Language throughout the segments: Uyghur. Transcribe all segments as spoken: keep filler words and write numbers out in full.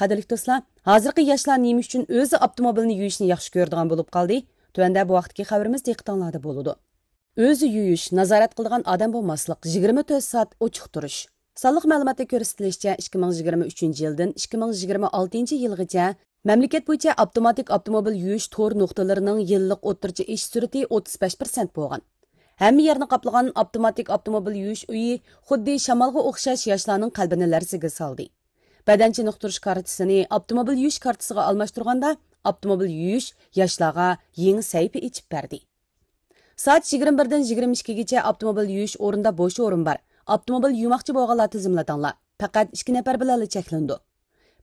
قەدىرلىك دوستلار، ھازىرقى ياشلار نېمە ئۈچۈن ئۆزى ئاپتوموبىلنى يۇيۇشنى ياخشى كۆرىدىغان بولۇپ قالدى؟ تۆۋەندە بۇ ھەقتىكى خەۋىرىمىز دىققىتىڭلاردا بولىدۇ. ئۆزى يۇيۇش، نازارەت قىلىدىغان ئادەم بولماسلىق، يىگىرمە تۆت سائەت ئوچۇق تۇرۇش. سانلىق مەلۇماتتا كۆرسىتىلىشىچە، ئىككى مىڭ يىگىرمە ئۈچىنچى يىلدىن ئىككى مىڭ يىگىرمە ئالتىنچى يىلغىچە مەملىكەت بويىچە ئاپتوماتىك ئاپتوموبىل يۇيۇش تور نۇقتىلىرىنىڭ يىللىق ئوتتۇرىچە ئېشىش سۈرئىتى ئوتتۇز بەش پىرسەنت بولغان. ھەممە يەرنى قاپلىغان ئاپتوماتىك ئاپتوموبىل يۇيۇش ئۆيى خۇددى شامالغا ئوخشاش ياشلارنىڭ قەلبىنى لەرزىگە سالدى. بەدەن چېنىقتۇرۇش كارتىسىنى ئاپتوموبىل يۇيۇش كارتىسىغا ئالماشتۇرغاندا، ئاپتوموبىل يۇيۇش ياشلارغا يېڭى سەھىپە ئېچىپ بەردى. سائەت يىگىرمە بىردىن يىگىرمە ئىككىگىچە ئاپتوموبىل يۇيۇش ئورنىدا بوش ئورۇن بار. ئاپتوموبىل يۇماقچى بولغانلار تىزىملىتىڭلار. پەقەت ئىككى نەپەر بىلەنلا چەكلىنىدۇ.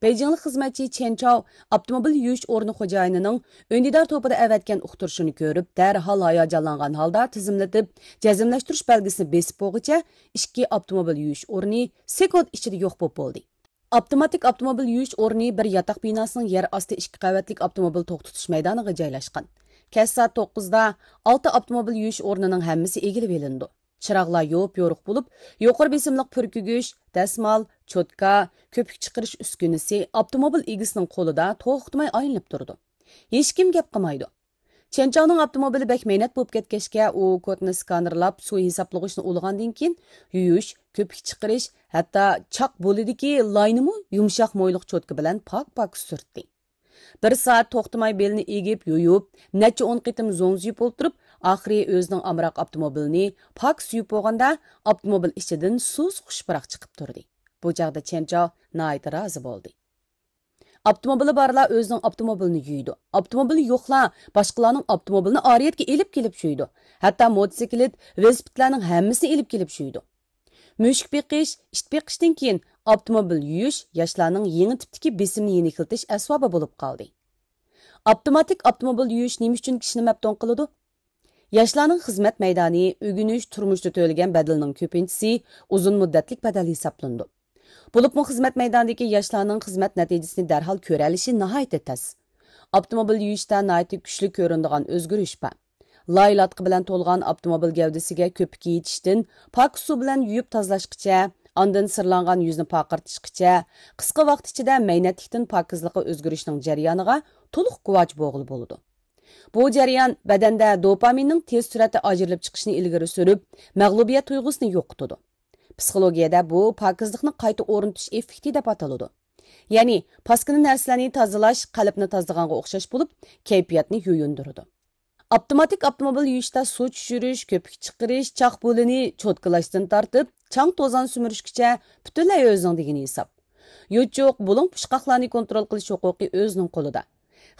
بېيجىڭلىق خىزمەتچى چېن چاۋ ئاپتوموبىل يۇيۇش ئورنى خوجايىنىنىڭ ئۈندىدار توپىدا ئەۋەتكەن ئۇقتۇرۇشىنى كۆرۈپ، دەرھال ھاياجانلانغان ھالدا تىزىملىتىپ، جەزملەشتۈرۈش بەلگىسىنى بېسىپ بولغۇچە، ئىككى ئاپتوموبىل يۇيۇش ئورنى سېكۇنت ئىچىدە يوق بولۇپ بولدى. ئاپتوماتىك ئاپتوموبىل يۇيۇش ئورنى بىر ياتاق بىناسىنىڭ يەر ئاستى ئىككى قەۋەتلىك ئاپتوموبىل توختىتىش مەيدانىغا جايلاشقان. كەچ سائەت توققۇزدا ئالتە ئاپتوموبىل يۇيۇش ئورنىنىڭ ھەممىسى ئىگىلىۋېلىنىدۇ. چىراغلار يوپيورۇق بولۇپ، يۇقىرى بېسىملىق پۈركۈگۈچ، دەسمال، چوتكا، كۆپۈك چىقىرىش ئۈسكۈنىسى ئاپتوموبىل ئىگىسىنىڭ قولىدا توختىماي ئايلىنىپ تۇرىدۇ. ھېچكىم گەپ قىلمايدۇ. چېن چاۋنىڭ ئاپتوموبىلى بەك مەينەت بولۇپ كەتكەچكە، ئۇ كودنى سكانېرلاپ، سۇ ھېسابلىغۇچنى ئۇلىغاندىن كېيىن، يۇيۇش، كۆپۈك چىقىرىش، ھەتتا چاق بولىدىكى لاينىمۇ يۇمشاق مويلۇق چوتكا بىلەن پاك-پاك سۈرتتى. بىر سائەت توختىماي بېلىنى ئېگىپ، يۇيۇپ، نەچچە ئون قېتىم زوڭزىيىپ ئولتۇرۇپ، ئاخىرى ئۆزىنىڭ ئامراق ئاپتوموبىلىنى پاكىز يۇيۇپ بولغاندا، ئاپتوموبىل ئىچىدىن سۇس خۇش پۇراق چىقىپ تۇردى. بۇ چاغدا چېن چاۋ ناھايىتى رازى بولدى. ئاپتوموبىلى بارلار ئۆزىنىڭ ئاپتوموبىلىنى يۇيىدۇ. ئاپتوموبىلى يوقلار باشقىلارنىڭ ئاپتوموبىلىنى ئارىيەتكە ئېلىپ كېلىپ يۇيىدۇ. ھەتتا موتوسىكلىت، ۋېلىسىپىتلارنىڭ ھەممىسىنى ئېلىپ كېلىپ يۇيىدۇ. مۈشۈك بېقىش، ئىت بېقىشتىن كېيىن ئاپتوموبىل يۇيۇش ياشلارنىڭ يېڭى تىپتىكى بېسىمنى يېنىكلىتىش ئەسۋابى بولۇپ قالدى. ئاپتوماتىك ئاپتوموبىل يۇيۇش نېمە ئۈچۈن كىشىنى مەپتۇن قىلىدۇ؟ ياشلارنىڭ خىزمەت مەيدانى، ئۆگىنىش، تۇرمۇشتا تۆلىگەن بەدىلىنىڭ كۆپىنچىسى ئۇزۇن مۇددەتلىك بەدەل ھېسابلىنىدۇ. بولۇپمۇ خىزمەت مەيدانىدىكى ياشلارنىڭ خىزمەت نەتىجىسىنى دەرھال كۆرەلىشى ناھايىتى تەس. ئاپتوموبىل يۇيۇشتا ناھايىتى كۈچلۈك كۆرۈنىدىغان ئۆزگىرىش بار. لاي لاتقا بىلەن تولغان ئاپتوموبىل گەۋدىسىگە كۆپۈك يېتىشتىن پاكىز سۇ بىلەن يۇيۇپ تازىلاشقىچە، ئاندىن سىرلانغان يۈزنى پارقىرىتىشقىچە، قىسقا ۋاقىت ئىچىدە مەينەتلىكتىن پاكىزلىققا ئۆزگىرىشنىڭ جەريانىغا تولۇق گۇۋاھچى بولغىلى بولىدۇ. بۇ جەريان بەدەندە دوپامىننىڭ تېز سۈرئەتتە ئاجرىلىپ چىقىشىنى ئىلگىرى سۈرۈپ، مەغلۇبىيەت تۇيغۇسىنى يوقىتىدۇ. پسىخولوگىيەدە بۇ پاكىزلىقنى قايتا ئورنىتىش ئېففېكتى دەپ ئاتىلىدۇ. يەنى پاسكىنا نەرسىلەرنى تازىلاش قەلبنى تازىلىغانغا ئوخشاش بولۇپ، كەيپىياتنى يۇيۇندۇرىدۇ. ئاپتوماتىك ئاپتوموبىل يۇيۇشتا سۇ چۈشۈرۈش، كۆپۈك چىقىرىش، چاق بۇلىنى چوتكىلاشتىن تارتىپ، چاڭ توزان سۈمۈرۈشكىچە پۈتۈنلەي ئۆزىڭ دېگىنى ھېساب. يوچۇق، بۇلۇڭ پۇچقاقلارنى كونترول قىلىش ھوقۇقى ئۆزىنىڭ قولىدا.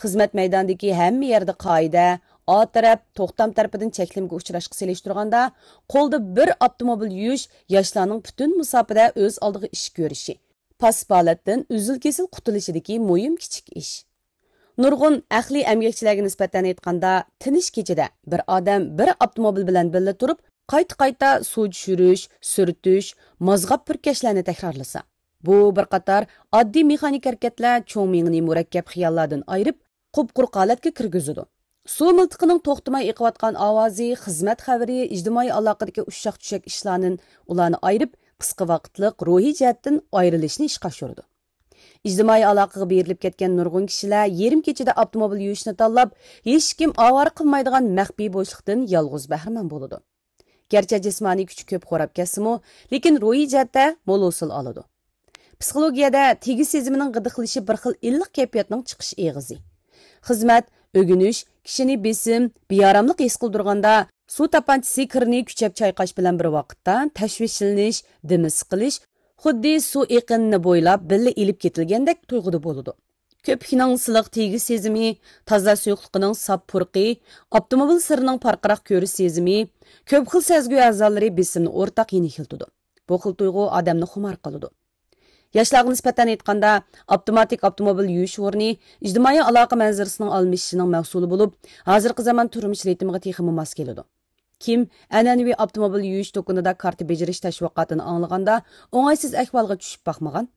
خىزمەت مەيدانىدىكى ھەممە يەردە قائىدە، ئا تەرەپ، توختام تەرىپىدىن چەكلىمىگە ئۇچراشقا سېلىشتۇرغاندا، قولدا بىر ئاپتوموبىل يۇيۇش ياشلارنىڭ پۈتۈن مۇساپىدە ئۆز ئالدىغا ئىش كۆرۈشى، پاسسىپ ھالەتتىن ئۈزۈل-كېسىل قۇتۇلۇشىدىكى مۇھىم كىچىك ئىش. نۇرغۇن ئەقلىي ئەمگەكچىلەرگە نىسبەتەن ئېيتقاندا، تىنچ كېچىدە بىر ئادەم بىر ئاپتوموبىل بىلەن بىللە تۇرۇپ، قايتا-قايتا سۇ چۈشۈرۈش، سۈرتۈش، مازغاپ پۈركەشلەرنى تەكرارلىسا، بۇ بىر قاتار ئاددىي مېخانىك ھەرىكەتلەر چوڭ مېڭىنى مۇرەككەپ خىياللاردىن ئايرىپ، قۇپقۇرۇق ھالەتكە كىرگۈزىدۇ. سۇ مىلتىقىنىڭ توختىماي ئېقىۋاتقان ئاۋازى، خىزمەت خەۋىرى، ئىجتىمائىي ئالاقىدىكى ئۇششاق-چۈششەك ئىشلاردىن ئۇلارنى ئايرىپ، قىسقا ۋاقىتلىق روھىي جەھەتتىن ئايرىلىشنى ئىشقا ئاشۇرىدۇ. ئىجتىمائىي ئالاقىغا بېرىلىپ كەتكەن نۇرغۇن كىشىلەر يېرىم كېچىدە ئاپتوموبىل يۇيۇشنى تاللاپ، ھېچكىم ئاۋارە قىلمايدىغان مەخپىي بوشلۇقتىن يالغۇز بەھرىمەن بولىدۇ. گەرچە جىسمانىي كۈچى كۆپ خوراپ كەتسىمۇ، لېكىن روھىي جەھەتتە مول ھوسۇل ئالىدۇ. پسىخولوگىيەدە تېگىش سېزىمىنىڭ غىدىقلىشى بىر خىل ئىللىق كەيپىياتنىڭ چىقىش ئېغىزى. خىزمەت، ئۆگىنىش كىشىنى بېسىم، بىئاراملىق ھېس قىلدۇرغاندا، سۇ تاپانچىسى كىرنى كۈچەپ چايقاش بىلەن بىر ۋاقىتتا، تەشۋىشلىنىش، دېمى سىقىلىش، خۇددى سۇ ئېقىنىنى بويلاپ بىللە ئېلىپ كېتىلگەندەك تۇيغۇدا بولىدۇ. كۆپۈكنىڭ سىلىق تېگىش سېزىمى، تازا سۇيۇقلۇقىنىڭ ساپ پۇرىقى، ئاپتوموبىل سىرتىنىڭ پارقىراق كۆرۈش سېزىمى، كۆپ خىل سەزگۈ ئەزالىرى بېسىمنى ئورتاق يېنىكلىتىدۇ. بۇ خىل تۇيغۇ ئادەمنى خۇمار قىلىدۇ. ياشلارغا نىسبەتەن ئېيتقاندا، ئاپتوماتىك ئاپتوموبىل يۇيۇش ئورنى ئىجتىمائىي ئالاقە مەنزىرىسىنىڭ ئالمىشىشىنىڭ مەھسۇلى بولۇپ، ھازىرقى زامان تۇرمۇش رىتىمىغا تېخىمۇ ماس كېلىدۇ. كىم ئەنئەنىۋى ئاپتوموبىل يۇيۇش دۇكىنىدا كارتا بېجىرىش تەشۋىقاتىنى ئاڭلىغاندا، ئوڭايسىز ئەھۋالغا چۈشۈپ باقمىغان؟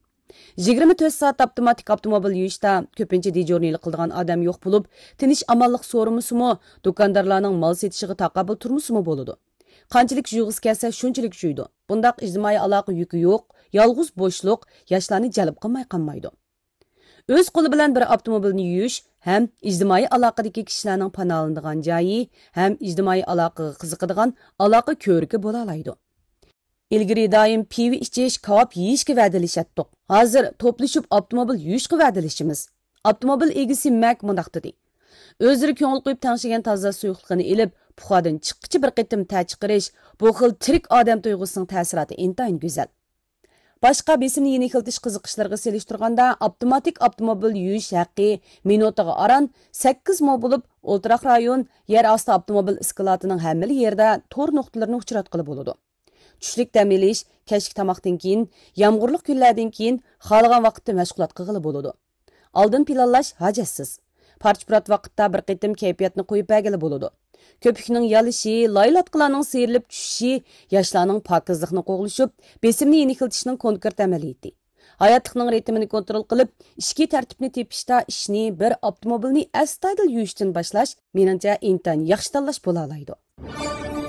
يىگىرمە تۆت سائەت ئاپتوماتىك ئاپتوموبىل يۇيۇشتا كۆپىنچە دېجورنىيلىق قىلىدىغان ئادەم يوق بولۇپ، تىنچ ئامانلىق سورىمىسىمۇ، دۇكاندارلارنىڭ مال سېتىشىغا تاقابىل تۇرمىسىمۇ بولىدۇ. قانچىلىك جۇيغۇسى كەلسە، شۇنچىلىك جۇيىدۇ. بۇنداق ئىجتىمائىي ئالاقە يۈكى يوق، يالغۇز بوشلۇق ياشلارنى جەلپ قىلماي قالمايدۇ. ئۆز قولى بىلەن بىر ئاپتوموبىلنى يۇيۇش ھەم ئىجتىمائىي ئالاقىدىكى كىشىلەرنىڭ پاناھلىنىدىغان جايى ھەم ئىجتىمائىي ئالاقىغا قىزىقىدىغان ئالاقە كۆرۈكى بولالايدۇ. ئىلگىرى دائىم پىۋا ئىچىش، كاۋاپ يېيىشكە ۋەدىلىشەتتۇق. ھازىر توپلىشىپ ئاپتوموبىل يۇيۇشقا ۋەدىلىشىمىز. ئاپتوموبىل ئىگىسى مەك مۇنداق دېدى: ئۆزلىرى كۆڭۈل قويۇپ تەڭشىگەن تازا سۇيۇقلۇقىنى ئېلىپ، پۇخادىن چىققىچە بىر قېتىم تەر چىقىرىش، بۇ خىل تىرىك ئادەم تۇيغۇسىنىڭ تەسىراتى ئىنتايىن گۈزەل. باشقا بېسىمنى يېنىكلىتىش قىزىقىشلىرىغا سېلىشتۇرغاندا، ئاپتوماتىك ئاپتوموبىل يۇيۇش ھەققى مىنۇتىغا ئاران سەككىز مو بولۇپ، ئولتۇراق رايون، يەر ئاستى ئاپتوموبىل ئىسكىلاتىنىڭ ھەممىلا يېرىدە تور نۇقتىلىرىنى ئۇچراتقىلى بولىدۇ. چۈشلۈك دەم ئېلىش، كەچلىك تاماقتىن كېيىن، يامغۇرلۇق كۈنلەردىن كېيىن خالىغان ۋاقىتتا مەشغۇلات قىلغىلى بولىدۇ. ئالدىن پىلانلاش ھاجەتسىز. پارچە-پۇرات ۋاقىتتا بىر قېتىم كەيپىياتنى قويۇپ بەرگىلى بولىدۇ. كۆپۈكنىڭ يالىشى، لايلاتقىلارنىڭ سىيرىلىپ چۈشۈشى، ياشلارنىڭ پاكىزلىقنى قوغلىشىپ، بېسىمنى يېنىكلىتىشنىڭ كونكرېت ئەمەلىيىتى. ھاياتلىقنىڭ رىتىمىنى كونترول قىلىپ، ئىچكى تەرتىپنى تېپىشتا ئىشنى بىر ئاپتوموبىلنى ئەستايىدىل يۇيۇشتىن باشلاش، مېنىڭچە، ئىنتايىن ياخشى تاللاش بولالايدۇ.